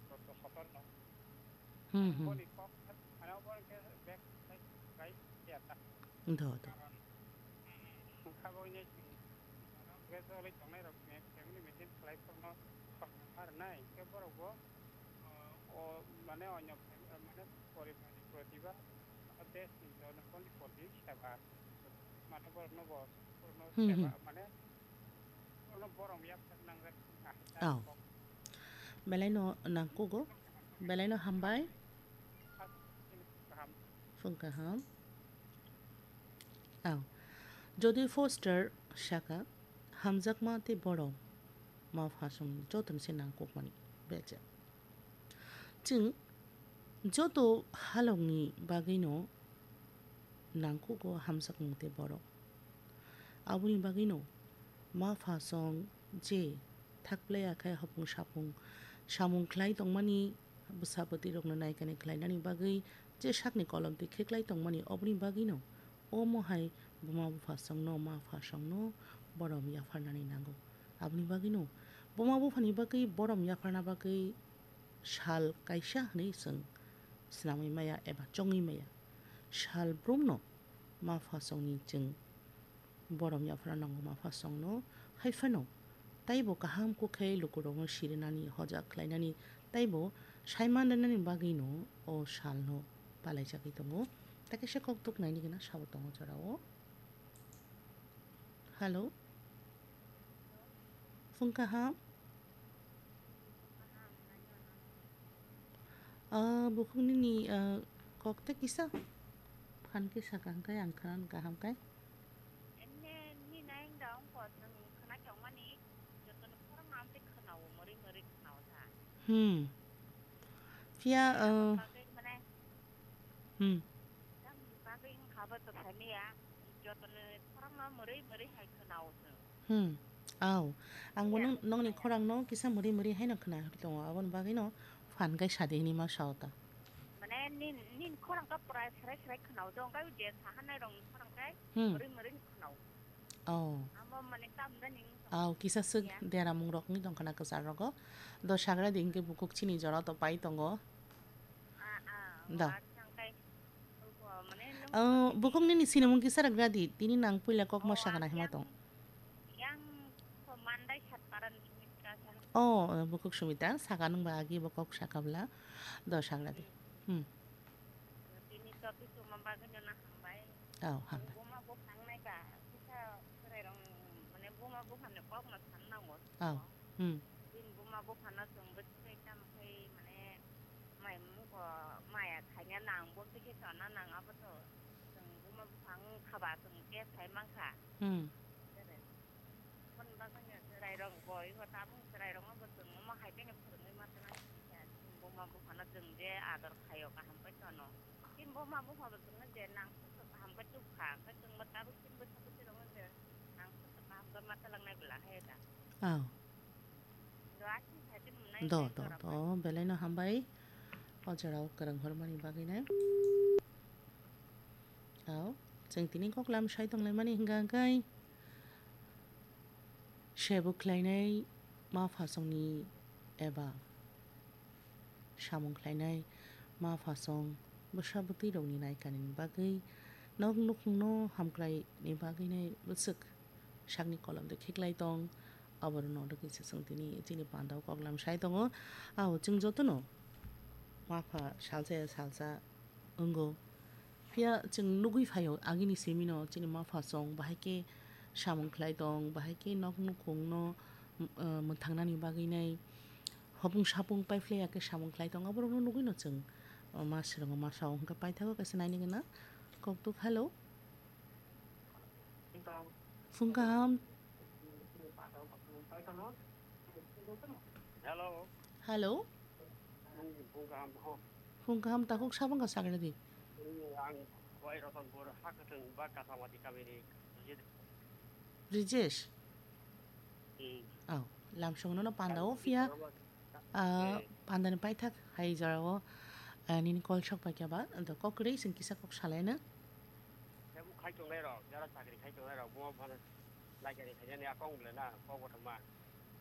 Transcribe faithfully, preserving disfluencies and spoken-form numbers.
Sotor no. Hmm, hmm. Boni kok ano boni ke back side right ya ta. Do, do. Karon, hmm, kabo ini sing. Gas oli tongnai rok family maintain khlai korno khorang har nai ke borok bo, o, mane onyo fam-, mane poribar ni protibad best ni jona poni poti seba mane borok no bo, borok no Hmm, seba hmm. Mane borok no borom yak nang rek. Oh. Belai no nangkugo, belai no hambai. Phung kaham. Ang Jodi Foster saka, hamjakma tei borom ma phasongni jotono se nangkukmani becha. Chwng joto halokni bagwino nangkugo hamjakmung tei borom. Aboni bagwino ma phasong je thakplai akhai hopung sapung samung khlai tongmani bwsa bwtwi rokno naikani khlainani bagwi je sakni kolom twi kheklai tongmani, oboni bagwino omo hai buma buphasongno ma phasongno borom yapharnani nango. Aboni bagwino buma buphani bagwi borom yapharna bagwi sal kaisa hwnwi chwng swnamwi maya eba chongwi maya. Sal brumno ma phasongni chwng borom yapharna nango ma phasongno, hai phano taibo kaham kuk khe lukurokno sirinani, hoja khlainani, taibo saiman rwnani bagwino o salno palaijagwi tongo. Tei kaisa koktuk naini gana sabo tongo jorao. Hello. Phung kaham. Ah, bukhuk nini, ah, kok tei kisa phan khe saka hwnkhe ang khna kaham khe. Enne ni naing da wngkha, chwng khna tongmani, jotono khorang amtwi khna-o, mwrwi mwrwi khna-o sa. Hmm. Phiya, Phiya ah, bagwi mane, hmm. Tamni bagwi wngkha bo to saniya, jotono khorang no mwrwi mwrwi hai khna-o chwng. Hmm. Au. Angbo Phiya nung, nungni khorang no kisa mwrwi mwrwi haino khna tongo, aboni bagwi no phan kai sadi hinwi ma sao ta. Mane nin, nin khorang ka pura srai srai khna-o, jong kai je sahanai rong khorang kai Hmm. Mwrwi mwrwi khna-o. Oh. Amo mane tam da ning. Au, kisa swk Ya. Deramung rok ni tongkhana kwchar rogo. Do sagra di hingke bukuk chini jora to pai tongo. Ah, ah, Da. Wa chang kai. Ko mane nung Oh, bukuk nini sinimung kisa ragra di. Tini nang puila kok ma Oh, sakana ang hima yang, tong. Yang ko mandai sat paran Sumitra sa. Oh, eh, bukuk Sumitra, saka nung ba agi bo kok sakabla. Do sagra di. Hmm. Tini topic tuma bagwi no na hambai. Oh, hambai. Buma buphang nai ba, kisa chwrai rong, mane buma buphang ni kok no san nango. Oh. Hmm. Bini buma buphang no chwng bwswk khe tamo khe mane mai mung ko maya khaina nang bo khe chana nang abo to chwng buma buphang khaba chwng khe sai mankha. Hmm. Aboni bagwino chwrairok bo, iko tabuk chwrairokno bo chwng omo hai phano phwrwngwi ma tongna sijak. Buma buphano chwng je ador khaio, kaham pai tono. Chini buma buphano chwngno je nang sokto kaham khe tubukha, hwnkhe chwngbo tabuk chini bwsa bwswirokno je nang sokto kaham khe ma twlangnai bwla hai da. Aw. Do, aswk hai tei mwnai Do, tei do, jora do, pai. Belaino hambai. O jorao kwrwng hormani bagwino. Aw, chwng tini koklam sai tonglaimani hwnkha hwnkhe. Sebo khlainai ma phasongni eba samung khlainai ma phasong bwsa bwtwi rokni naikanini bagwi nok nukhungno hamkraini bagwinai bwswk sakni kolom de khiklai tong. Aborokno rwgwi se chwng tini chini pandao koklam sai tongo. Ao chwng jotono ma pha salsa ya salsa wngo. Phiya chwng nugwi phaio, agini simino chini ma phasong bahai khe samung khlai tong, bahai khe nok nukhungno, uh, mwthangnani bagwinai hopung sapung paiphlaiya khe samung khlai tong, aborokno nugwino chwng, uh, ma swrwngo, ma sao. Hwnkhe paithago kaisa nainigwna koktuk. Hello. Phung kaham. Hello. Hello. Phung kaham, ho. Phung kaham, takhuk sabang ka sakra di. Ang Wai Rotonpur, Hakatwng, ba Kasamati kamini Brijesh. Brijesh? Hmm. Oh, lamsong no panda o phiya. Ah, eh. Pandani paithak hai jorao, ah, nini call sok paikha ba, do kok kwrwi chwng kisa kok salaina. Tebo khai tongnai rok, jara chakri khai tongnai rok, bo phano lai chakri khainani akong bwle na, kok bo thangma.